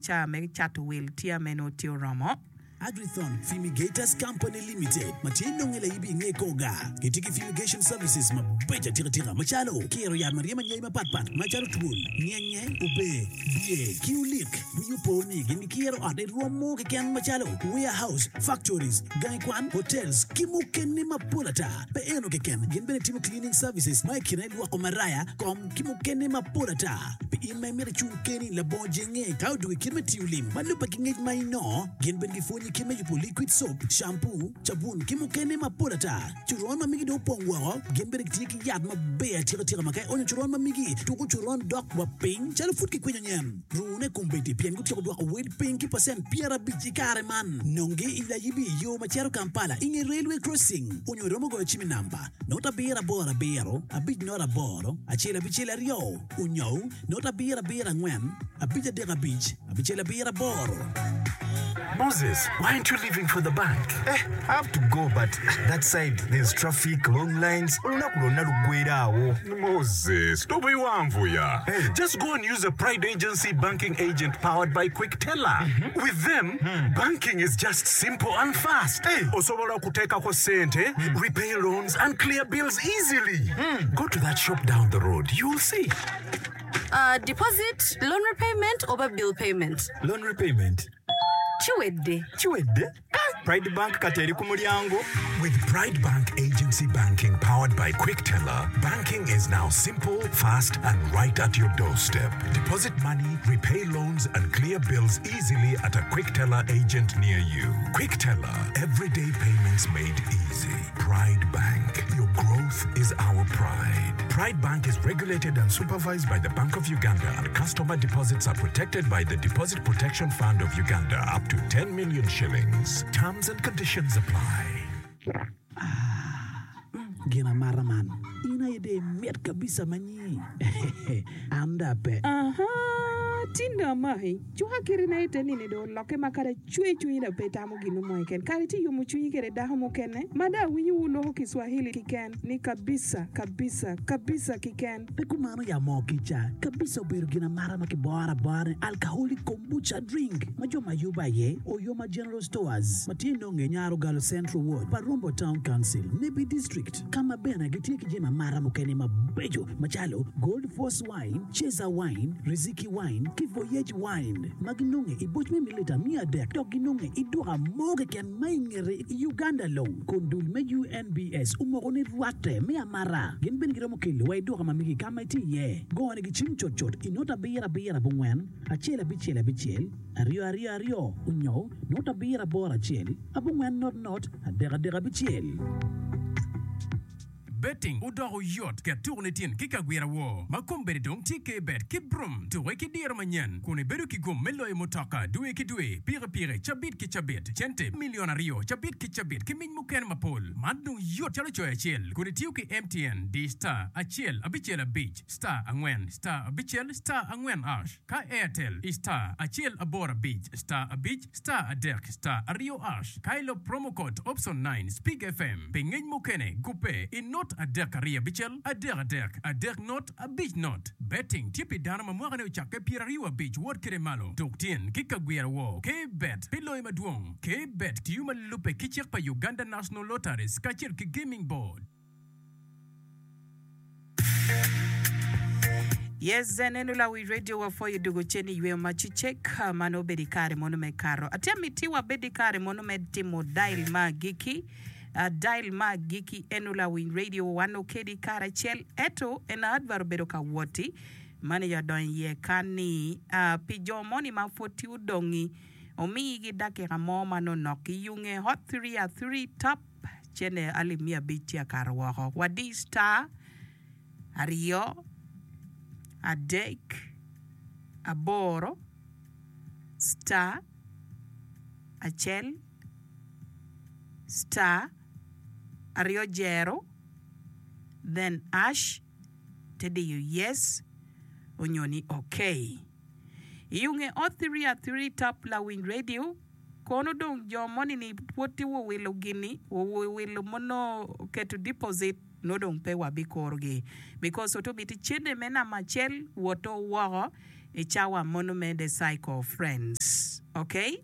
Ca me cato wil tye meno tye oromo. Agrithon Fumigators Company Limited ma tye nonge laibi i nge kor gar gitye ki fumigation services mabeco atika tika macalo kiro yat ma ryemo anyai mapat pat macalo twol, nyenye, ober, bye ki olik. Wii opo ni gin gikiro ot i rwom mo keken macalo warehouse, factories, gangi kwan, hotels ki mukene mapol ata. Pe eno keken, gin bene timo cleaning services ma i kine lwoko maraya, kom, ki mukene mapol ata. Pi in ma imito icung keni labongo jenge ka odwogo i kit me tiyo lim ma lubbe ki ngec ma inongo, gin bene gipwonyi kit me yubo liquid soap, shampoo, cabun ki mukene mapol ata. Coron ma migi dong opong woko, gin bene gitye ki yat maber atika tika ma ka ionyo coron ma migi, tuko coron dok wa piny calo pud kikwinyo nyen. Rune kombeddi pien gutyeko dwoko wel piny ki pacent 50 i kare man. Nongi i Layibi i yo ma cito Kampala i nge railway crossing onyo iromo goyo cim i namba not abiro aboro abiro abic not aboro acel abicel aryo onyo not abiro abiro angwen abic adek abic abicel abiro aboro. Moses, why aren't you leaving for the bank? Eh, I have to go but that side there's traffic, long lines, olunaku lwonna luggwera awo. Moses, tobiwanvuya. Hey. Just go and use a Pride Agency banking agent powered by Quickteller. With them, banking is just simple and fast. Hey. Osobola okuteekako sente, repay loans and clear bills easily. Go to that shop down the road, you'll see. Uh, deposit, loan repayment oba bill payment? Loan repayment. Kiwedde. Kiwedde? Pride Bank kati eri ku mulyango. With Pride Bank Agency Banking powered by Quickteller, banking is now simple, fast and right at your doorstep. Deposit money, repay loans and clear bills easily at a Quickteller agent near you. Quickteller, everyday payments made easy. Pride Bank, your growth is our pride. Pride Bank is regulated and supervised by the Bank of Uganda and customer deposits are protected by the Deposit Protection Fund of Uganda up to 10 million shillings. Terms and conditions apply. Ah, gin amata man, in aye dong imit kabisa ma nyi. An dong ape. Aha, tin dong amaki. Cuka kitina ite nini dong olokke ma kadi acwe cwinyi dong pe itamo gin mo keken. Kadi itye yomo cwinyi kede dako mukene ma dong awinyo wu loko Kiswahili kiken ni kabisa, kabisa, kabisa kiken. Pe kumano ya moo kica kabisa obedo gin amata ma kiboro abora ni alcoholic kombucha drink ma jo ma yubo aye Oyoma General Stores ma tye nonge Nyarogalo Central Ward pa Rombo Town Council, Nebbi District ka ma bene gitye ki jami amata mukene mabeco macalo Gold Force Wine, Ceza Wine, Riziki Wine ki Voyage Wine ma ginonge i boc me mililita 300 dok ginonge i duka mo keken ma i ngete i Uganda long kun dul me UNBS omoko ni rwatte me amata. Gin bene giromo kelo wa i duka ma megi ka ma itye iye. Gone gi cim cutcut i not abiro abiro abongwen acel abicel abicel aryo aryo aryo onyo not abiro aboro acel abongwen not not adek adek abicel. Betting odoko yot, ket tukoni tin ki kagwira woo ma kombeddi dong tye K-Bet ki Brum. Tuke ki diro manyen kun ibedo ki gum me loyo mutoka dwe ki dwe, pikipiki cabit ki cabit, cente milion aryo cabit ki cabit ki mic mukene mapol. Man dong yot calo coyo acel kun itiyo ki MTN di star acel abicel abic star angwen star abicel star angwen ash ka Airtel i star acel aboro abic star abic Star adek star aryo ash ka ilo promo code option nine Speak FM pi ngec mukene gubbe i not adek aryo abicel adek adek adek not abic not. Betting tye pi dano ma mwakane ocakke 25 wot kede malo. Tuk tyen ki kagwira woo K-Bet pi loyo madwong. K-Bet tiyo ma lubbe ki cik pa Uganda National Lotteries kacel ki Gaming Board. Yes, en eno lawi radio wa pwoyo dugo cen i yweyo ma cicek ma nongo obedo i kare mono me kato. Atye miti wa bed i kare mono me timo dial ma agikki. Uh, dial ma agikki eno lawiny radio wan okedi kare acel eto en advert obedo ka woti mani ya donyo iye kan ni uh, pi jo moni ma pwod tye odongi omiyigi dakika mo ma nongo nok iyunge hot 3 a 3 top Cente alip miya abic tye akato woko. Wadi star aryo, adek, aboro, star, acel, star, aryo jero, then ash, te diyo yes onyo ni okay. Iyunge ot three a three tap lawiny radio. Kono dong jo moni ni pwod tye wuwilo gini, wuwilo ma nongo keto deposit nongo dong pe wabikurogi because oto miti cente me namba acel woto woko. I cawa mono me The Cycle Friends. Ok?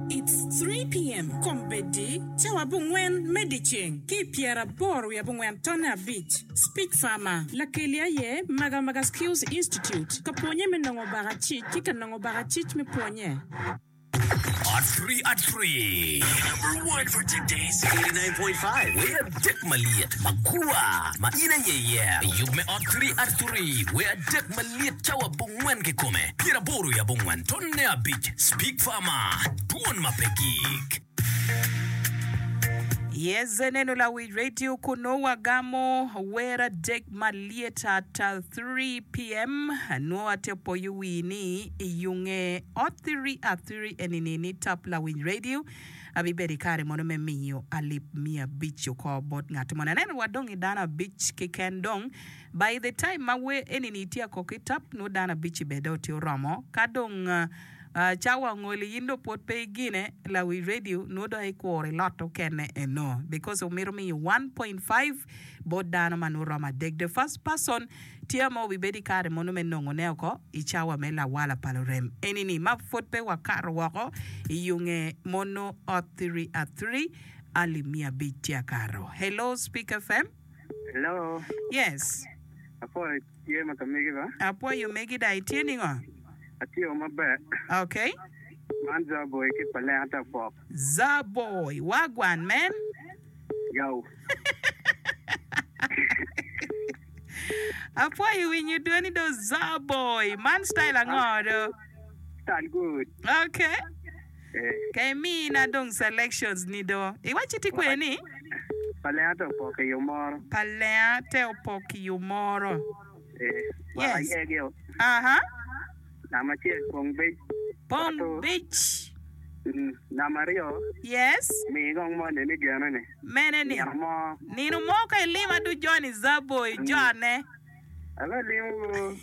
It's 3pm kombeddi, cawa abongwen me dyeceng ki i pyeraboro wiye abongwen tonne abic. Speech Farmer, Lakeli aye Magamaga Skills Institute, ka pwonye me nongo bakacic ki ka nongo bakacic me pwonye. At Free At Free Number one for today's 89.5 Wer adek malyet magwar ma in aye iye. Yub me Ot Free At Free Wer adek malyet cawa abongwen kikome pyeraboro i abongwen tonne abic Speak Farmer Dwon ma pe gik. Yes, neno lawic radio kunu wagamo wer adek malyet at 3 PM. Nwo ate opoyo wii ni iyunge ot 3 at 3 enini ni tap lawiny radio abibedo ikare mono me miyo alip miya abic oko bot ngat moni. Aneno wadong i dano abic keken dong by the time ma wer enini tye akok ki tap nwo dano abic-ci bene dong tye oromo ka dong Cawa ongoli in dong pwod pe igine lawi radio nwo dong ikuro ilot okene eno because omito miyo 1.5 bot dano ma nwo romo adek the first person tye ma obibedo ikare mono me nongo ne oko i cawa me lawala pa lurem eni ni ma pwod pe wakato woko i yunge mono ot thiri athiri ali 500 tye akato hello speak FM. Hello. Yes. Apwoyo Tye ma ka megi ba. Apwoyo megi da itye ningo? Atye maber. Ok. Man Zaboy ki Palenga te apok. Zaboy, wagwan man. Yow. Apwoyo winyo dwoni do Zaboy. Man style ango do? Style good. Ok. Ka imina dong selections ni do. Iwacci tye kwene ni? Palenga te opok i omoro. Palenga te opok i omoro. Yes. Aha. Namba acel pong bic. Pong bic. Namba aryo. Yes. Mi gong moni ni gene ni. Mene ni? Nino mo. Nino mo ka ilima du Johnny Zaboy jone. Abe limo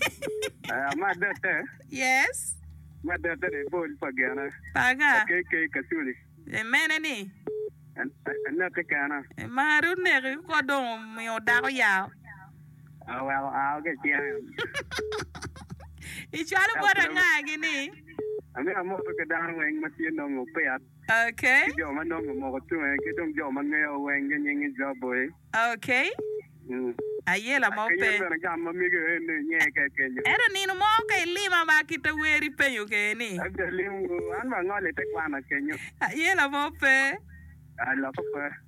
ma adette. Yes. Me adette ni bol pa gene. Pa anga? Pa KK Kaculi. E mene ni? Aneke kena. E mari oneki ko dong omiyo dako yao. Aweko ao ki icine. Icwalo bot anga gi ni? Amito amoto ki dano weng ma tye nongo opiat. Okay. Ki jo ma nongo omoko tunge ki dong jo ma ngeyo weng gi nyingi Joboy. Ok. Ayela mo pe. Ento nino mo ka ilima ma kite wer ipenyo kede ni. Ayela mo pe.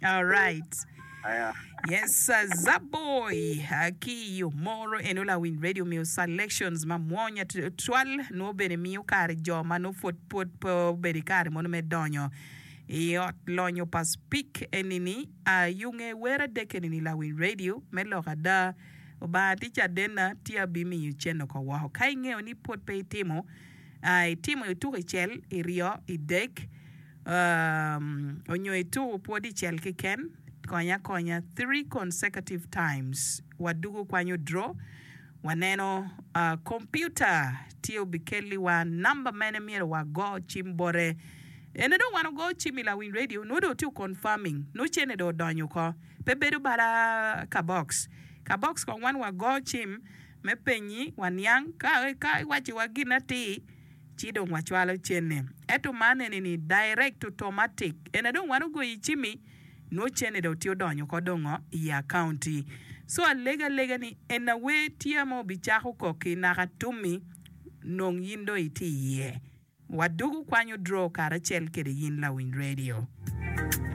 Alright. Yes, Zaboy ki yo moro eno lawiny radio miyo selections ma mwonya twal nwo bene miyo kare jo ma nwo pwod pwod pe obedo i kare mono me donyo i ot lonyo pa Spik eni-ni. Ayunge wer adek eni ni lawiny radio me lok ada. Obanga tye cadenna tye abimiyo cen oko woko. Ka ingeyo ni pwod pe itimo, itimo ituko icel, iryo, idek, onyo ituko pwod icel keken, konya akonya three consecutive times. Wadugo kwanyo draw, waneno computer tye obikelliwa number mene myero wago cim bote. Ene dong wan ogo cim i lawiny radio nongo dong otye confirming nongo cene dong odonyo oko pe bedo bala ka box ka box kong wan wa go cim me penyi wa niang ka ka iwaci wa gin atir ci dong wa cwalo cene ento man eni ni direct automatic ene dong wan ogoyo i cimi nongo cene dong tye odonyo oko dongo i accounti so alega alega ni ena wer tye ma obicako koki naka tumi nong yin dong itye iye. Wadugu kwanyo draw karacel kede yin lawiny radio.